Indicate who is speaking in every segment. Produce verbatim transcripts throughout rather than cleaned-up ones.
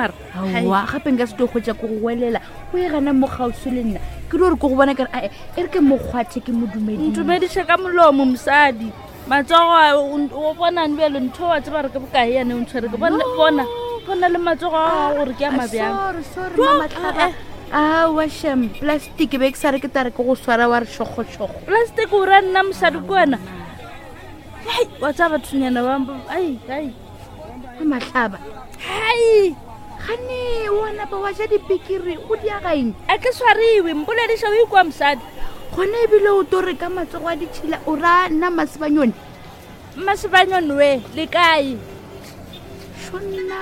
Speaker 1: Mara
Speaker 2: Aowa, gape nka se tlo kgwetsa ko go welela o e gana mo kgauswi le nna ke di gore ke go bona kare ae e re ke mokgwathe ke mo dumedise
Speaker 1: ntumediše ka molomo mosadi matsogo a o o bonane bjalo ntho wa tseba re ke bokae yane o ntshwere ke bona bona bona le matsogo a gore ke a mabjang
Speaker 2: sorry sorry
Speaker 1: Jo,
Speaker 2: mamatlhaba
Speaker 1: eh,
Speaker 2: aowa shem plastic be ke sa re ke tare ke go swara wa re šogošogo
Speaker 1: plastic o ra nna mosadi ke wena ai wa tsaya bathonyana ba ai ai
Speaker 2: mamatlhaba
Speaker 1: hai
Speaker 2: gane wa napa wa ja dipikiri go diagaeng
Speaker 1: a ke tshwariwe mpolediša o ikwa mosadi
Speaker 2: gona ebile o to re ka matsogo a ditšhila o ra nna masebanyone
Speaker 1: mmasebanyone we le kae
Speaker 2: šonna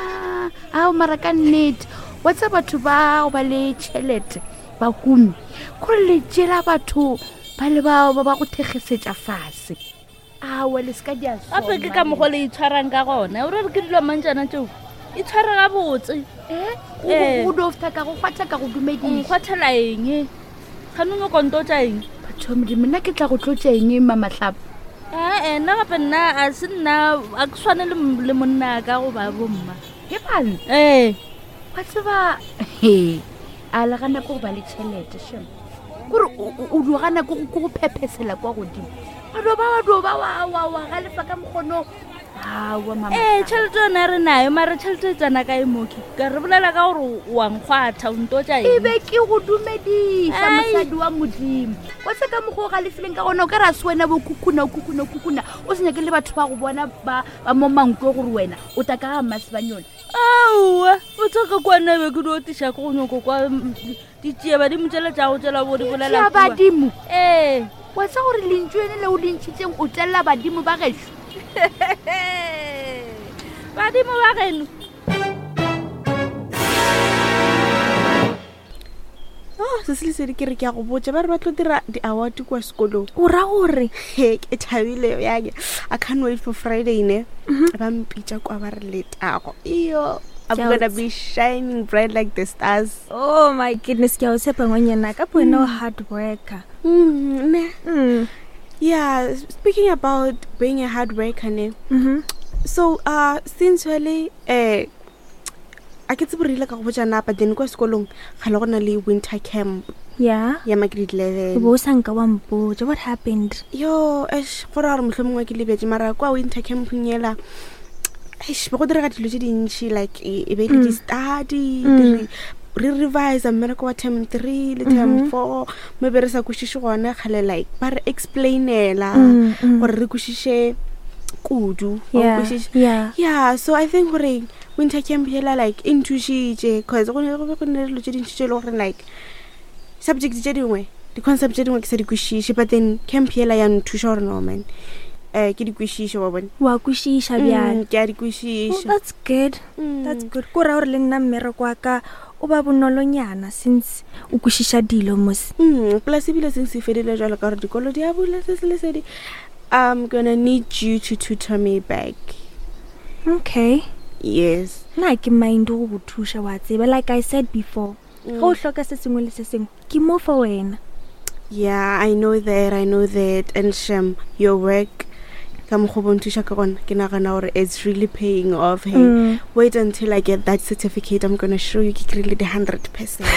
Speaker 2: ao mara ka nnete wa tsa batho ba go ba le tšhelete ba humi kore le tšela batho ba le bao ba ba go thekgesetša fase aowa le se ka di a
Speaker 1: gape ke ka mokgwa le itshwarang ka gona o re re ke dilo mantšana tseo itshware gabotse Eh.
Speaker 2: go dofta ka go kgwatha ka go dumediša
Speaker 1: nkgwathela eng gane o nyoko tša eng
Speaker 2: batho ba modimo nna ke tla go tlotša eng mamatlhaba
Speaker 1: ee nna gape nna a se nna a ke tshwane le m- le monna ka goba bomma
Speaker 2: ke bane
Speaker 1: ee
Speaker 2: wa tseba he a le gana ke go ba le tšhelete shem kore o- o o dio gana ke go- ke go phephesela kwa godimo wa dio ba wa dio ba wa- wa wa galefa ka mokgono aowa mama
Speaker 1: ee tšhelete yone re nayo mare tšhelete e tsena kae moki ka re bolela ka gore wa nkgwatha o ntotša
Speaker 2: e
Speaker 1: eng
Speaker 2: be ke go dumediša
Speaker 1: Ai.
Speaker 2: mosadi wa modimo wa se ka mokgwa o galefileng ka gona o ka re a se wena bo khukhuna o khukhuna o khukhuna o se nyake le batho ba go bona ba ba mo mankwe gore wena o ta ka ga mmasebanyone
Speaker 1: aowa o tsaka kwana be ke dio tiša ke go nyoko kwa mm, ditšie badimo tsela tša go tsela bo di bolela
Speaker 2: ya
Speaker 1: kua.
Speaker 2: badimo
Speaker 1: ee
Speaker 2: wa tsa gore lentšu ene le o le ntšhitseng o telela badimo ba gešo
Speaker 1: badimo ba geno
Speaker 3: oh se se lesedi ke re ke a go botsa ba re ba tlo dira di-award kua sekolong
Speaker 4: o ra gore
Speaker 3: he ke thabile yake i can't wait for friday ne ba mpitša kwa ba re letago iyo i'm
Speaker 4: Ke a o
Speaker 3: gonna be shining bright like the stars
Speaker 4: oh my goodness ke a o tshepa ngwanyana ka bo wena o hard worker
Speaker 3: mm, ne
Speaker 4: mm.
Speaker 3: yeah speaking about being a hard worker ne
Speaker 4: mm-hmm.
Speaker 3: so uh since wale eh a ke tsebe re ile ka go botša na but then kwa sekolong ga le go na le winter camp
Speaker 4: yeah
Speaker 3: ya ma grade
Speaker 4: o
Speaker 3: eleven
Speaker 4: bo o sa nka wa mpotša what happened
Speaker 3: yo ash go ra gore motlho mongwe ke lebetse mara kwa winter campong ela eish be go direga dilo tse dintšhi like e e be le di-study
Speaker 4: Mm.
Speaker 3: di re- re revise mmereko wa term three le term
Speaker 4: Mhm.
Speaker 3: four mo be re sa kwešiše gona kgale like ba re explainela
Speaker 4: Mm, mm.
Speaker 3: gore re kwešiše kudu wa
Speaker 4: yeah
Speaker 3: nkwešiša?
Speaker 4: yeah
Speaker 3: yeah so i think gore winter camp hela like e nthušitše cause go ne go be go ne le dilo tse dintši tse e le gore like subject tše dingwe di-concept tše dingwe ke sa di kwešiše but then camp hela ya nthuša gore no man um ke di kwešiše wa bone
Speaker 4: wa kwešiša bjale
Speaker 3: Mm, ke a di
Speaker 4: Oh,
Speaker 3: kwešiša
Speaker 4: that's good
Speaker 3: Mm.
Speaker 4: that's good ko ra gore le nna mmereko wa ka o ba bonolonyana since o kwešiša dilo mos
Speaker 3: Mm, plus ebile seng se fedile jalo ka gore dikolo di a bula se se lesedi i'm gonna need you to tutor me back
Speaker 4: okay
Speaker 3: yes
Speaker 4: nna ke mind go go thuša wa tseba like i said before
Speaker 3: Mm.
Speaker 4: ge o hloka se sengwe le se sengwe ke mo for wena
Speaker 3: yeah i know that i know that and shem your work ka mokgwa o bo nthuša ka gona ke nagana gore it's really paying off hey
Speaker 4: Mm.
Speaker 3: wait until i get that certificate i'm gonna show you ke kry-ile the hundred percent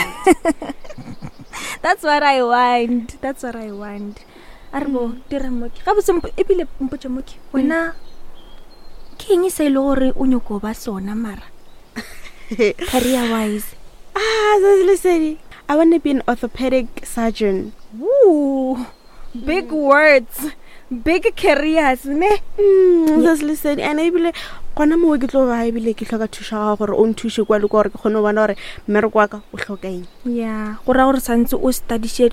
Speaker 4: that's what i want that's what i want a re bo dira moki gabotse mpo- ebile mpotse moki wena ke eng se e le gore o nyako ba sona mara career wise
Speaker 3: ah se lesedi i want to be an orthopedic surgeon
Speaker 4: Woo, big words big careers ne
Speaker 3: Mm, se se lesedi and ebile gona mowe ke tlo ba ebile ke hloka thuša gago gore o nthuše kwa le kwa gore ke kgone go bona gore mmereko wa ka o hloka eng
Speaker 4: ya go raya gore santse o studiše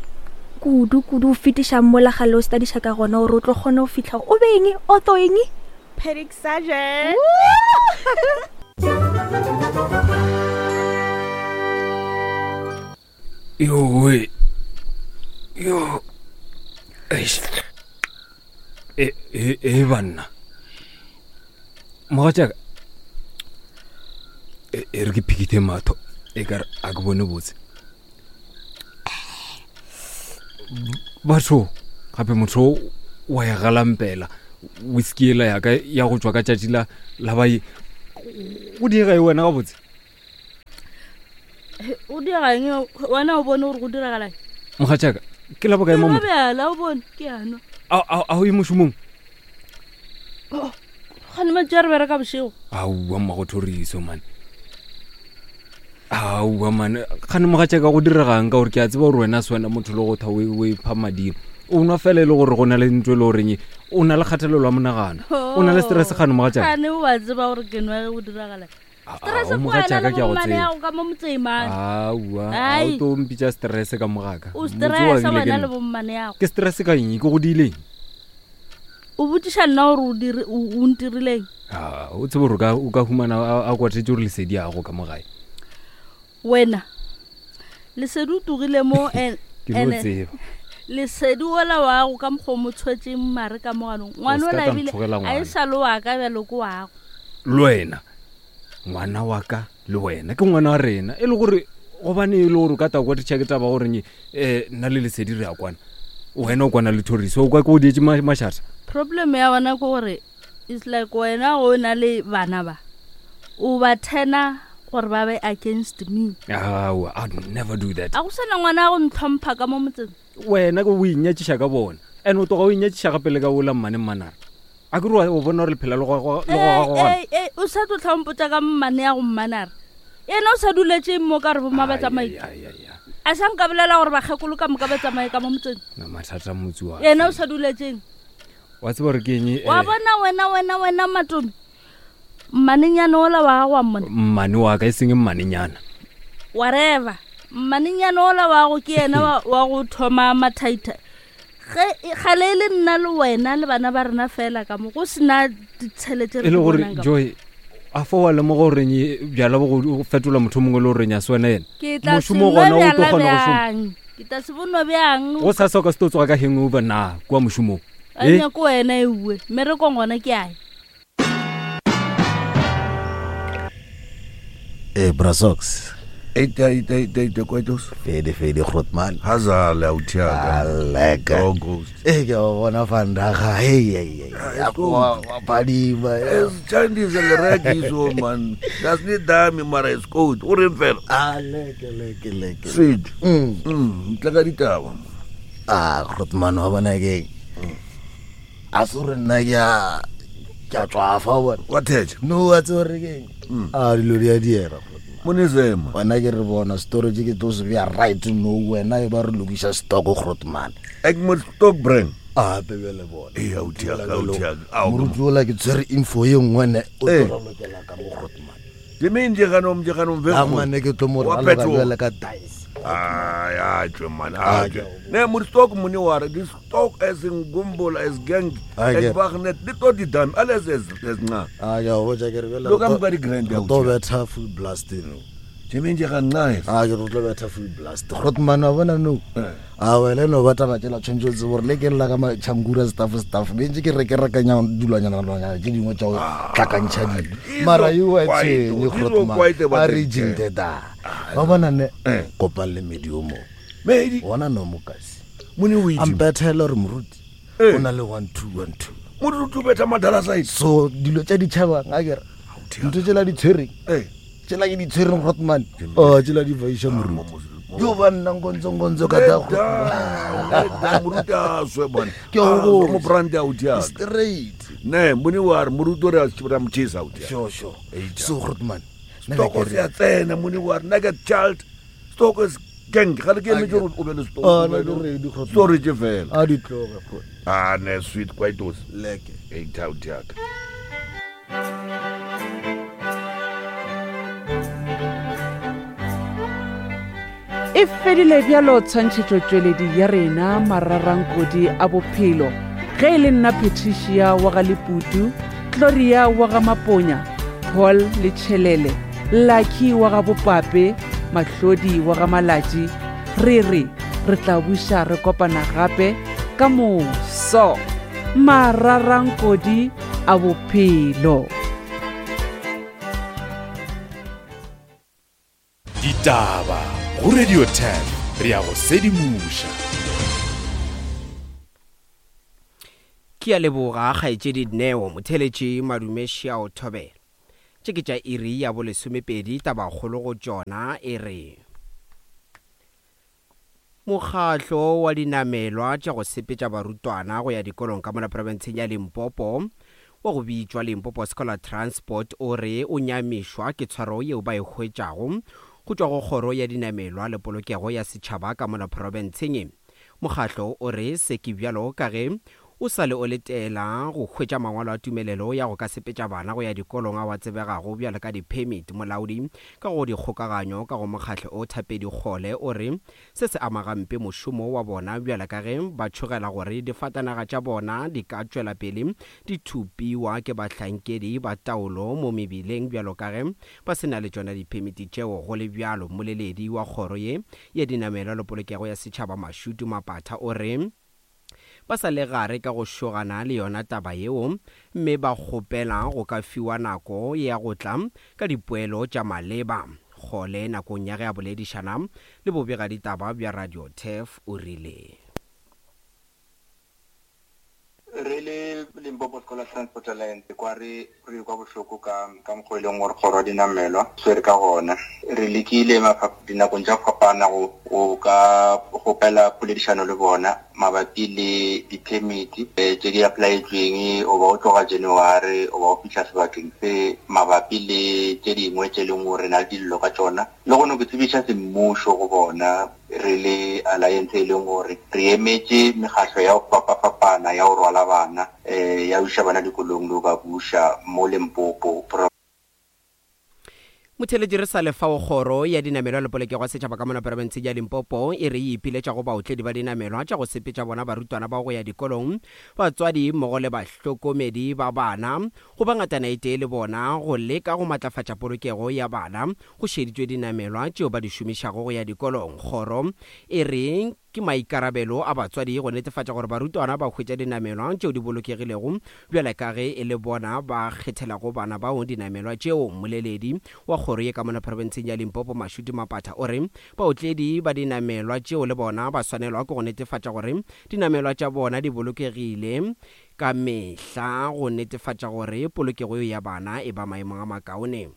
Speaker 4: kudu kudu o fetiša mola gale o studiša ka gona gore o tlo kgone go fitlha o be eng ortho eng
Speaker 3: pedic surgeon
Speaker 5: yowe yo eish e e e banna mogatšaka e e re ke phikithe matho e kare a ke bone botse batho gape motho o wa ya galampela whisky ela yaka ya go tswa ka tšatši la la baye go diega e wena gabotse
Speaker 1: O dira eng wena o bone gore go diragala
Speaker 5: Mogatšaka ke la bokae mo motho
Speaker 1: bjala o bone ke ano
Speaker 5: a a o ye mošomong
Speaker 1: gane matši a re bereka bošego
Speaker 5: aowa mmago Thoriso mane aowa mane gane mogatšaka go diregang ka gore ke a tseba gore wena se wena motho le go tha o ipha madimo o nwa fela e le gore go na le ntho e le goreng o na le kgathelelo ya monagano o na le stress gane mogatšaka
Speaker 1: gane o a tseba gore ke nwa ge go diragala stress
Speaker 5: o mogatšaka ke a go tseba
Speaker 1: ka mo motseng mane
Speaker 5: aowa a o to mpitša stress ka mogaka
Speaker 1: o stress wena le bommane yago
Speaker 5: ke stress ka eng ke go diileng
Speaker 1: o botšiša nna gore o dire o ntirileng
Speaker 5: a o tsebe gore o ka humana a kwatetse gore lesedi ago ka mogae
Speaker 1: wena lesedi o togile mo
Speaker 5: ke no tseba
Speaker 1: lesedi ola wago ka mokgwa o mo tshwetseng mare ka moganong ngwana ola ebile a e sa le waka bjalo ke wago
Speaker 5: le wena ngwana wa ka le wena ke ngwana wa rena e le gore gobane e le gore o ka ta kwa ditšha ke taba goreng um nna le lesedi re a kwana wena o kwana le Thoriso o kwa ke o dietse mašata
Speaker 1: problem ya bona ke gore it's like wena o na le bana ba o ba thena gore ba be against me
Speaker 5: aowa I'd never do that
Speaker 1: a go sena ngwana a go ntlhompha ka mo motseng
Speaker 5: wena ke o inyatšiša ka bona and o toga o inyatšiša gape le ka ola mmane mmanare a ke re o bona gore lephela le
Speaker 1: goga o sa tlo tlhompotsa ka mmane ya go mmanare yena o sa duletseng mo ka re bomma ba tsamaye a sa nka bolela gore bakgekolo ka moka ba tsamaye ka mo motseng
Speaker 5: na mathata motse wa
Speaker 1: yena o sa duletseng
Speaker 5: wa tseba gore ke eng
Speaker 1: wa bona wena wena wena Matome mmanenyana ola wa gago wa mmone
Speaker 5: mmane wa ka e seng mmanenyana
Speaker 1: whatever mmanenyana ola wa go ke yena wa go thoma mathaitha ge gale e le nna le wena le bana ba rena fela ka mo go sena ditšhelete
Speaker 5: e le gore Joy a fa wa lemoga goreng bjala bo go fetola motho mongwe le goreng a se wena yena mošomo gona o tlo kgona go šoma
Speaker 1: ke tla se bonwa bjang
Speaker 5: go sa sa o ka se tlo tsoga ka hangover na kua mošomong
Speaker 1: a nyako wena e bue mmerekong gona ke ae
Speaker 6: Eh, Brasox.
Speaker 7: Eita, eita, eita, eita, kwaitos.
Speaker 6: Fede, fede, grootman.
Speaker 7: Hazale, autiaka.
Speaker 6: Aleka.
Speaker 7: Oh, ghost.
Speaker 6: Eh, ke a bona vandaga. Hey, hey, hey. Wa phadima.
Speaker 7: Es Chinese le so man. Das nie dami mara is good. O reng fela.
Speaker 6: Ah, leke, leke, leke.
Speaker 7: Sweet.
Speaker 6: Mm.
Speaker 7: Mm, tla ka ditaba.
Speaker 6: Ah, grootman wa bona ke. A se re nna ke a ke a tswafa bona.
Speaker 7: Wa thetša.
Speaker 6: No, wa tseba re keng. Ah, dilo di a diera.
Speaker 7: Monezema.
Speaker 6: Wena ke re bona storage ke tlo se bea right no wena e ba re lokiša stock grootman.
Speaker 7: Ek mo stock brand.
Speaker 6: Ah, pebe le bona.
Speaker 7: Eh, autiaka, autiaka.
Speaker 6: Moruti ola ke tshwere info ye nngwe ne o
Speaker 7: Eh.
Speaker 6: tlo ralokela ka mo grootman.
Speaker 7: Ke meng je ganom je ganom ve.
Speaker 6: A mane ke tlo mo
Speaker 7: Wa
Speaker 6: raloka
Speaker 7: petrol.
Speaker 6: bjale ka dice.
Speaker 7: Ai, ai, tjwe man.
Speaker 6: Ah,
Speaker 7: Ah, tjwe. Ne mo stock mone wa re di stock as in gumbola as gang.
Speaker 6: Ah, ke-
Speaker 7: Ek bagnet di to di dam alles es es nca.
Speaker 6: Ah, ke a go botša ke re bjale
Speaker 7: Lo ka
Speaker 6: re tlo-
Speaker 7: moka di grand
Speaker 6: re tlo betha full blast no.
Speaker 7: Je meng je ga nca.
Speaker 6: Ah, ke re tlo betha full blast. Grootman wa bona no. A wena no ba taba tšela tshwanetse o tsebe gore le ke lla ka matšhankura staff staff bentse ke re ke rekanya dilwanyana lwanyana tše dingwe tša go tlhakantšha dilo mara yo wa
Speaker 7: quiet,
Speaker 6: tshwenye
Speaker 7: oh,
Speaker 6: Grootman
Speaker 7: quiet about
Speaker 6: a
Speaker 7: it.
Speaker 6: re jinteda ba bona ne
Speaker 7: Eh.
Speaker 6: kopang le medi o mo
Speaker 7: Medi
Speaker 6: bona no mokasi
Speaker 7: mone o
Speaker 6: a
Speaker 7: itse.
Speaker 6: mpethele gore moruti
Speaker 7: Eh.
Speaker 6: o na le one two one two
Speaker 7: Moruti o betha madala side.
Speaker 6: so dilo tša ditšhabang a kere ntho tšela di tshwereng
Speaker 7: Eh.
Speaker 6: tšela ke di tshwereng Grootman o tšela di vaiša moruti yo ba nna nkontsonkontsho ka ta
Speaker 7: Da, moruti a swe bana.
Speaker 6: Ke a go botša.
Speaker 7: mo brand autiaka.
Speaker 6: straight
Speaker 7: Ne, mone wa re moruti o re a ra mo chesa autiaka.
Speaker 6: sure sure
Speaker 7: Eita.
Speaker 6: so Grootman nna be
Speaker 7: Stock
Speaker 6: ke
Speaker 7: se
Speaker 6: re-
Speaker 7: a tsena mone wa re nugget child. Stock is gang. Ga le ke emetse gore o be le stock.
Speaker 6: Ah, nna ke ready, Grootman.
Speaker 7: Storage fela.
Speaker 6: a di tloge Groot.
Speaker 7: Ah, ne sweet kwaitos.
Speaker 6: leke
Speaker 7: Eita autiaka.
Speaker 8: E fedile bjalo tshwantšhetšotšweledi ya rena mararankodi a bophelo ge e le nna Patricia wa ga Leputu, Gloria wa ga Maponya, Paul le Tšhelele, Lucky wa ga Bopape, Mahlodi wa ga Malatši, re re re tla buša re kopana gape ka moso. Mararankodi a bophelo.
Speaker 9: Ditaba go Radio ten re ya go sedimoša.
Speaker 10: Ke a leboga kgaetšedi Neo motheletši Madume Šiao Thobela. Tše ke tša iri ya bolesomepedi tabakgolo go tšona e re. Mokgatlo wa dinamelwa tša go sepetša barutwana go ya dikolong ka mola profenseng ya Limpopo wa go bitšwa Limpopo Scholar Transport o re o nyamišwa ke tshwaro yeo ba e hwetšago go tšwa go kgoro ya dinamelwa le polokego ya setšhaba ka mola profenseng. Mokgatlo o re se ke bjalo ka ge o sa le o letela go hwetša mangwalo a tumelelo ya go ka sepetša bana go ya dikolong ao a tsebegago bjalo ka di-permit. Molaodi ka go dikgokaganyo ka go mokgatlo o Thapedi Kgole o re se se ama gampe mošomo wa bona bjalo ka ge ba tšhogela gore difatanaga tša bona di ka tšwela pele di thupiwa ke bahlankedi ba taolo mo mebileng bjalo ka ge ba se na le tšona di-permit tšeo. Go le bjalo, mmoleledi wa kgoro ye ya dinamelwa le polokego ya setšhaba Mashudu Mapatha o re ba sa le gare ka go šogana le yona taba yeo mme ba kgopela go ka fiwa nako ya go tla ka dipoelo tša maleba. Kgole nakong ya ge a boledišana le bobegaditaba bja Radio Turf o rile
Speaker 11: re le Limpopo Scholar Transport Alliance kwa re re kwa bohloko ka ka mokgwa e leng gore kgoro ya dinamelwa swere ka gona. Re lekile dinakong tša go fapana go go ka kgopela poledišano le bona mabapi le di-permit tše di applyetsweng o ba o tloga January o ba o fihla sebakeng se mabapi le tše dingwe tše leng gore re na le dillo ka tšona. Le gone ke tsebiša semmušo go bona re le alliance e leng gore re emetše mekgatlo ya go fapafapana ya go rwala bana um ya iša bana dikolong le go ba buša mo Limpopo.
Speaker 10: Motheletši re sa le fao kgoro ya dinamelwa le polokego ya setšhaba ka mona profenseng ya Limpopo e re e ipiletša go baotledi ba dinamelwa tša go sepetša bona barutwana ba go ya dikolong, batswadi mmogo le bahlokomedi ba bana go ba ngatana e tee le bona go leka go matlafatša polokego ya bana go šeditšwe dinamelwa tšeo ba di šomišago go ya dikolong. Kgoro e re ke maikarabelo a batswadi go netefatša gore barutwana ba hwetša dinamelwa tšeo di bolokegilego bjale ka ge e le bona ba kgethelago bana bao dinamelwa tšeo. Mmoleledi wa kgoro ye ka mona profenseng ya Limpopo Mashudu Mapatha o re baotledi ba dinamelwa tšeo le bona ba swanelwa ke go netefatša gore dinamelwa tša bona di bolokegile ka mehla go netefatša gore polokego ya bana e ba maemong a makaone.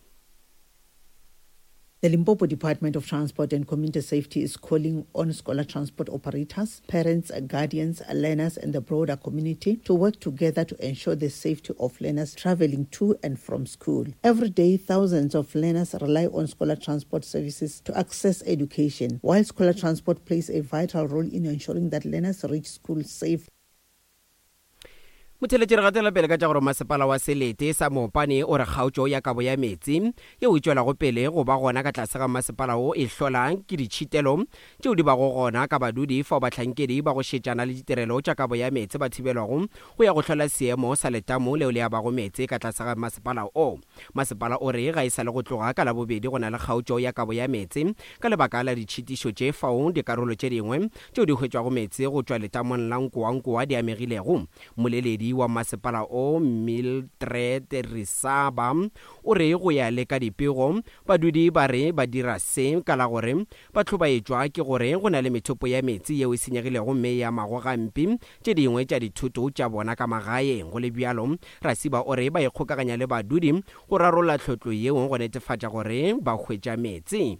Speaker 12: The Limpopo Department of Transport and Community Safety is calling on scholar transport operators, parents, guardians, learners, and the broader community to work together to ensure the safety of learners traveling to and from school. Every day, thousands of learners rely on scholar transport services to access education, while scholar transport plays a vital role in ensuring that learners reach school safe.
Speaker 10: Motheletši re gatela pele ka tša gore masepala wa Selete sa Mopane o re kgaotšo ya kabo ya meetse yeo e tšwelago pele go ba gona ka tlase ga masepala wo e hlola ke ditšhitelo tšeo di bago gona ka badudi fao bahlankedi ba go šetšana le ditirelo tša kabo ya meetse ba thibelwago go ya go hlola seemo sa letamo leo le abago meetse ka tlase ga masepala o. Masepala o re ga e sa le go tloga ka Labobedi go na le kgaotšo ya kabo ya meetse ka lebaka la ditšhitišo tše fao dikarolo tše dingwe tšeo di hwetšwago meetse go tšwa letamong la Nkowankowa di amegilego. Mmoleledi wa masepala o Mildred Risaba o re go ya le ka dipego badudi ba re ba dira se ka la gore ba hlobaetšwa ke gore go na le methopo ya meetse yeo e senyegilego mme ya mago gampe tše dingwe tša dithoto tša bona ka magaeng. Go le bjalo, Rasiba o re ba ikgokaganya le badudi go rarolla tlhotlo yeo go netefatša gore ba hwetša meetse.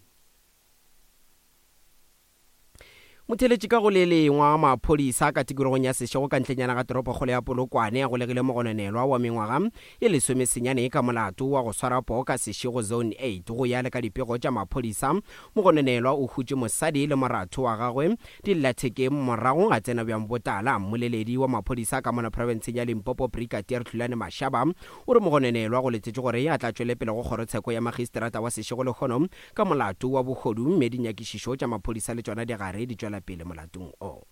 Speaker 10: Motheletši ka go le lengwa maphodisa ka tikologong ya Seshego ka ntlenyana ga toropokgolo ya Polokwane a golegile mogononelwa wa mengwaga ye lesomesenyane ka molato wa go swara poo ka Seshego Zone eight. Go ya le ka dipego tša maphodisa, mogononelwa o hutše mosadi le moratho wa gagwe dillathekeng morago a tsena bjang botala. Mmoleledi wa maphodisa ka mona profenseng ya Limpopo Brigadier Tlulane Mashaba o re mogononelwa go letetše gore a tla tšwele pele go kgorotsheko ya magistrata wa Seshego lehono ka molato wa bohodu mme dinyakišišo tša maphodisa le tšona di gare di tšwela pele molatong o.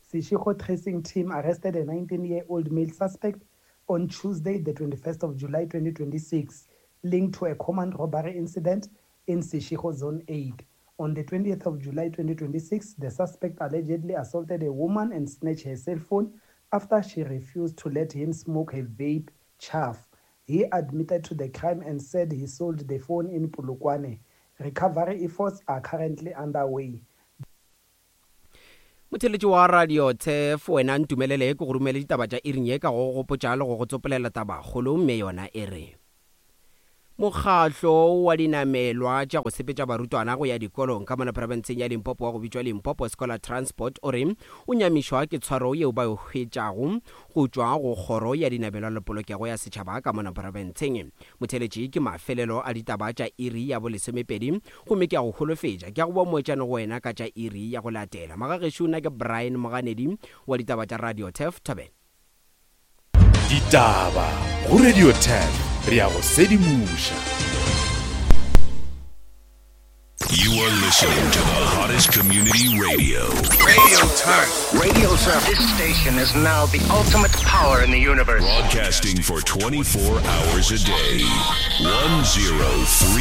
Speaker 13: Seshego tracing team arrested a nineteen-year-old male suspect on Tuesday, the twenty-first of July, twenty twenty-six, linked to a common robbery incident in Seshego Zone eight. On the twentieth of July, twenty twenty-six, the suspect allegedly assaulted a woman and snatched her cell phone after she refused to let him smoke her vape chaff. He admitted to the crime and said he sold the phone in Polokwane. Recovery efforts are currently underway.
Speaker 10: Motheletši wa Radio Turf wena ntumelele ke go romele ditaba tša iring ye ka go gopotša le go go tsopolela tabakgolo mme yona e re Mokgahlo wa dinamelwa tša go sepetša barutwana go ya dikolong ka mona profenseng ya Limpopo wa go bitšwa Limpopo Scholar Transport o re o nyamišwa ke tshwaro yeo ba e hwetšago go tšwa go kgoro ya dinamelwa le polokego ya setšhaba ka mona profenseng. Motheeletši, ke mafelelo a ditaba tša iri ya bolesomepedi gomme ke a go holofetša ke a go boa moetšane go wena ka tša iri ya go latela. Magagešo, nna ke Brian Moganedi wa ditaba tša Radio Turf Thobela.
Speaker 9: Ditaba go Radio Turf, re a go sedimoša.
Speaker 14: You are listening to the hottest community radio.
Speaker 15: Radio Turf. Radio Turf. This station is now the ultimate power in the universe.
Speaker 14: Broadcasting for twenty-four hours a day. one zero three